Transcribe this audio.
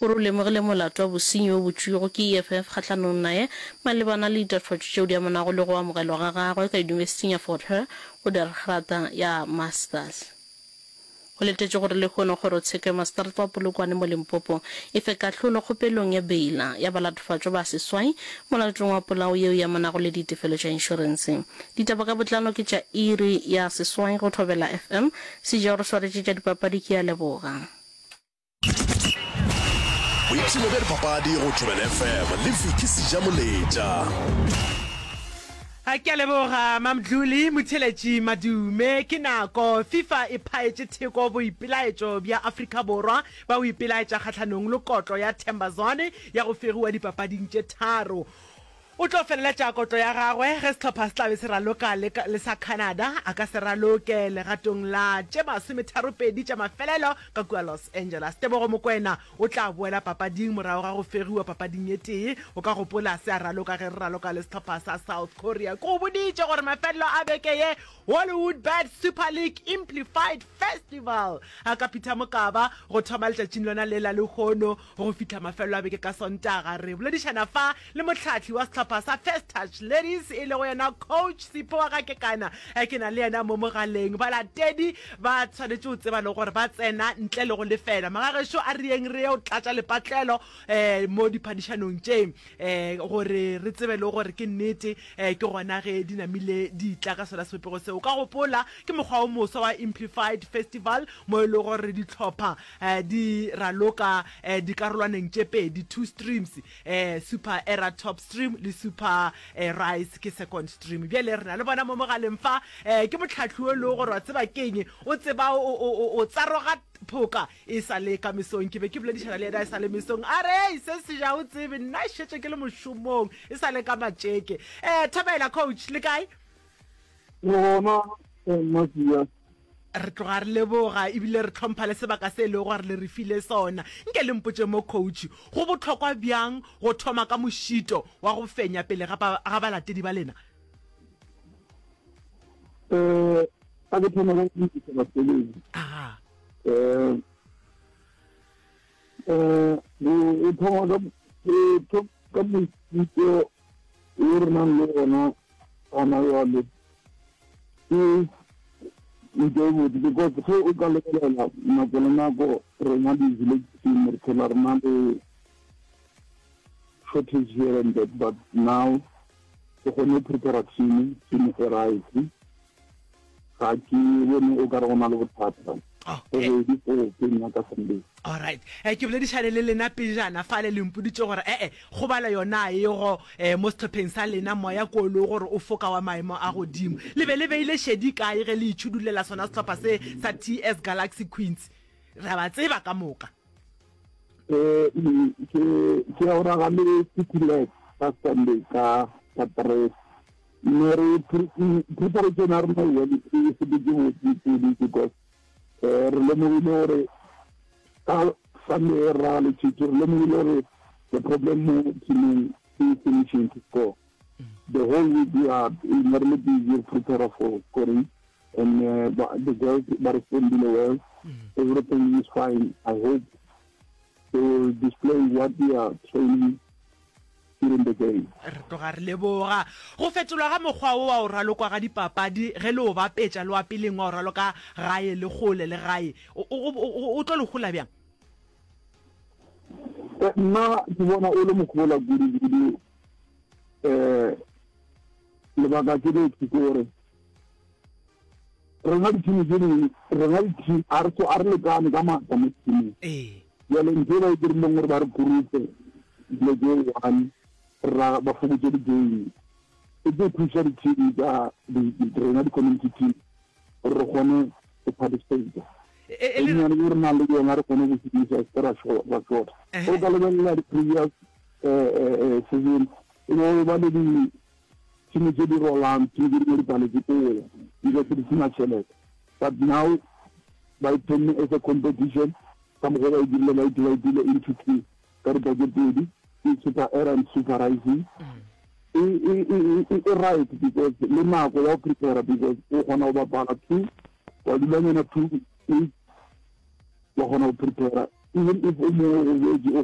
O re o lemogile molato wa bosenyi wo botšwego ke EFF kgahlanong naye malebana le ditatofatšo tšeo di amanago le go amogelwa ga gagwe ka Yunibesithing ya Fort Hare go dira grata ya Masters. Go letetšwe gore lehono kgorotsheko ya maseterata wa Polokwane mo Limpopo e fe kahlolo kgopelong ya beila ya balatofatšwa ba seswai molatong wa polao yeo e amanago le ditefelo tša inšorense. Ditaba ka botlalo ke tša iri ya seswai go Thobela FM. Seja o re swaretše tša dipapadi ke a leboga. Boipshino bja dipapadi go Thobela FM le Vicky Sejamoletša. A ke a leboga Mamdluli Motheletši Madume. Ke nako FIFA e phaetše theko boipelaetšo bja Afrika Borwa ba go ipelaetša kgahlanong le kotlo ya Themba Zwane ya go fegiwa dipapading tše tharo. O tlo feleletša kotlo ya gagwe ge sehlopha se tla be se raloka le, le sa Canada. A ka se raloke legatong la tše masometharopedi tša mafelelo ka kua Los Angeles. Tebogo Mokoena o tla boela papading morago ga go fegiwa papading e tee. O ka gopola se a raloka ge re raloka le sehlopha sa South Korea. Ke go boditše gore mafelelo a beke ye Hollywood Bet Super League Implified Festival a ka Peter Mokaba go thoma letšatšing lona le la lehono go fihla mafelelo a beke ka Sontaga. Re boledišana fa le mohlahli wa sehlopha sa First Touch Ladies e lego yena Coach Sipho wa ga Kekana. Ke na le yena mo mogaleng. Balatedi ba swanetše go tseba le gore ba tsena ntle le go lefela. Magagešo a re yeng re ye go tlatša lepatlelo um mo diphadišanong tše um gore re tsebe le gore ke nnete um ke gona ge di namile di tla ka sona sebopego seo. O ka gopola ke mokgwa o moswa wa Implified Festival mo e lego gore dihlopha um di raloka um dikarolwaneng tše pedi, two streams, um Super Era Top Stream le Super Rise ke second stream. Bjale re na le bona mo mogaleng fa, um ke mohlahli o e lego gore wa tseba keng, o tseba o tsaroga phoka E sa le ka mesong, ke be ke boledišana le yena e sa le mesong, a re, Hei, se se ja o tsebe, nna šetše ke le mošomong, e sa le ka matšeke. Eh, thobela, coach, le kae? Re gona, eh, Mmasia. Re tloga re leboga ebile re tlhompha le sebaka se e lego gore le re file sona. Nke le mpotše mo, coach, go bohlokwa bjang go thoma ka mošito wa go fenya pele ga, ga balatedi ba lena? Eh, a ke thome ka go dumedisa basebetsi. Aga. Eh, eh, go thoma ka go ka mošito wo re nang le ona gona jwale ke ntho e botse because ge o ka lebelela nako le nako rena di-village team re phela re na le shortage here and that but now ke kgone go prepare team team e right Ga ke bone o ka re go na le bothata. Go ready for game ya ka Sunday. Alright. Eh, ke boledišane le lena pejana fale le mpoditše gore ee kgobalo yona a ego eh, mo sehlopheng sa lena moya ko o le gore o foka wa maemo a godimo. Le be le beile šedi kae ge le itšhudulela sona sehlopha se sa TS Galaxy Queens? Re a ba tseba ka moka. Eh, ke ke ya go raga le City Lads ka Sunday ka ka 3. Ne re preparation ya rena well e sepetse botse kudu because eh, re lemogile gore ka Sunday e ra le Chiefs re lemogile gore the problem mo teamong ke finishing to score the whole week we are ne re le busy prepare for scoring and uh, the girls ba respondile well everything is fine i hope they will display what we are training during the game. Re tloga re leboga. Go fetolwa ga mokgwa wo wa go ralokwa ga dipapadi ge le o bapetša le wa peleng wa go raloka gae le kgole le gae, o, o, o, o tlo le hola bjang? Eh, nna ke bona o le mohola kudu-kudu. Um lebaka ke le ke gore rena di-team tse dingwe rena di-team a re a re lekane ka maatla mo teameng Ee. jale ntho e ba e dirileng gore ba re groupe dilo tse one ra ba fokotse di-game e tlo thusa di-team tsa rena di-community team gore re kgone go participate E, e, e le- nnyane e re nang le yona re kgone go šomisa se ra ra short Ehe. o ka lebelela di-previous eh, eh, eh, season e be ba le di Tšhimo tše di rolang, tšhimo tše dingwe di paletše ke go ya because di sena tšhelete. But now ba e thomile as a competition ka mokgwa ba e dirile ba e dividile into two ka ripa tše pedi ke super era and super rising. E, e, e, e, e right because le nako ya go prepare because o kgona go bapala two wa dulanyana two weeks wa kgona go prepare even if o mongwe o gobetše o.